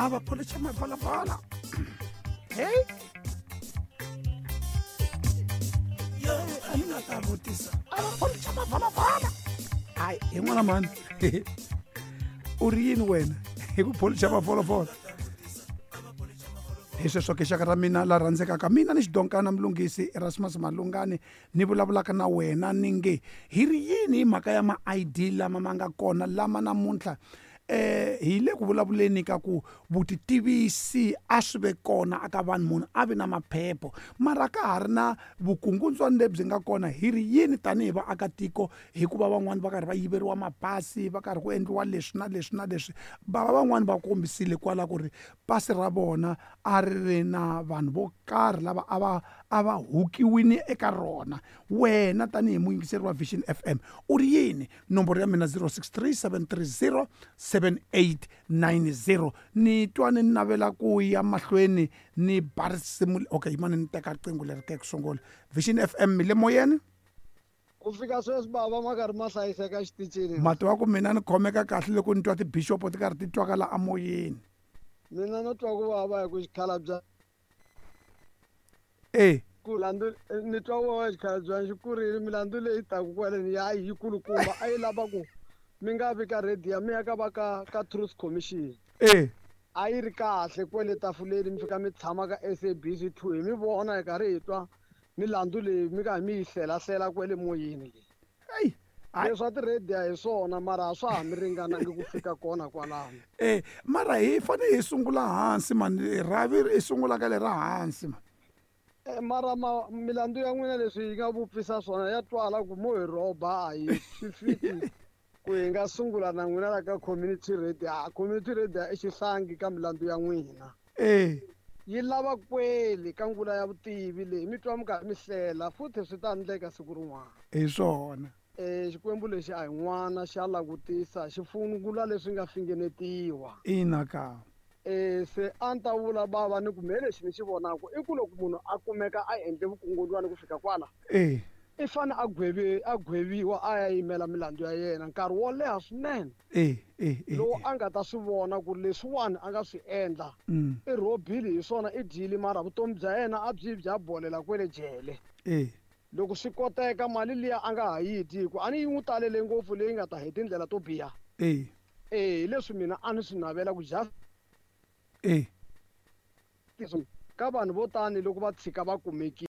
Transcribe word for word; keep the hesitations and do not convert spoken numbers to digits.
A va pholicha mavalavala. Hey, a ni nga ta vutisa, a va pholicha mavalavala. Hayi, hi n'wana mani, u ri yini wena hi ku pholicha mavholovholo? Hi sweswo ke, xaka ra mina la rhandzekaka, mina ni xidonkana Mlunghisi Erasmus Malungani ni vulavulaka na wena, ni nge hi ri yini hi mhaka ya ma-I D lama ma nga kona lama namuntlha? eh hi le ku vulavuleni ka ku vutitivisi a swi ve kona aka vanhu, munhu a vi na maphepho, mara ka ha ri na vukungundzwani lebyi nga kona. Hi ri yini tanihi vaakatiko? Hikuva van'wani va karhi va yiveriwa mapasi, va karhi ku endliwa leswi na leswi na leswi. Bava van'wani va kombisile kwala ku ri pasi ra vona a ri ri na vanhu vo karhi lava a va a va hukiwini eka rona. Wena tanihi muyingiseri wa Vision F M, u ri yini? Nomboro ya mina zero six three seven three zero seven eight nine zero. Ni twa ni navela ku ya mahlweni ni ba risimu. Okay, yimani ni teka riqingho leri ke ku sungula. Vision F M, mi le moyeni. Ku fika sweswi, bava, ma karhi ma hlayiseka xitichini? Mati wa ku mina ni khomeka kahle loko ni twa tibishopo ti karhi ti twakala amoyeni. Mina no twa ku vava hi ku xikhalabya E ku landzu ni twa ku vava, xikhalabya xi kurile. Milandzu leyi taku kwaleni ya yi kulukumba, a yi lava ku mi nga vi ka radio, mi ya ka va ka ka Truth Commission. E a yi ri kahle kwele tafuleni, mi fika mi tshama ka S A B C two, hi mi vona hi karhi hi twa milandzu leyi mi ka mi yi hlelahlela kwele moyeni leyi. Eyi, hayi. Leswa ti-radio hi swona, mara a swa ha mi ringanangi ku fika kona kwalano. E mara hi fanele hi sungula hansi mani, rhavi i sungula ka lera hansi mani. Eh, mara ma milandzu ya n'wina leswi yi nga vupfisa swona ya twala ku mo hi rhoba, a hi swi fiki ku hi nga sungula na n'wina la ka community radio. A community radio i xihlangi ka milandzu ya n'wina. E yi lava kweli ka ngula ya vutivi leyi mi twa mi karhi mi hlela futhi, swi ta endleka siku rin'wana. Hi swona. um Xikwembu lexi a hi n'wana, xa langutisa, xi fungula leswi nga fingenetiwa. Ina ka. um se a ni ta vula, bava, ni ku me lexi ni xi vonaka i ku loko munhu a kumeka a endle vukungundzwani ku fika kwala, e i fane a gwevi a gweviwa, a ya yimela milandzu ya yena nkarhi wo leha swinene, e e e lowu a nga ta swi vona ku leswiwani a nga swi endla mm i rhobile hi swona, i dyile, mara vutomi bya yena a byi bya bolela kwele jele. E loko swi koteka, mali liya a nga ha yi dyi, hi ku a ni yi n'wi talele ngopfu leyi nga ta hi tindlela to biha. E e hi leswi mina a ni swi navela ku justice e ka vanhu vo tani loko va tshika va kumekile.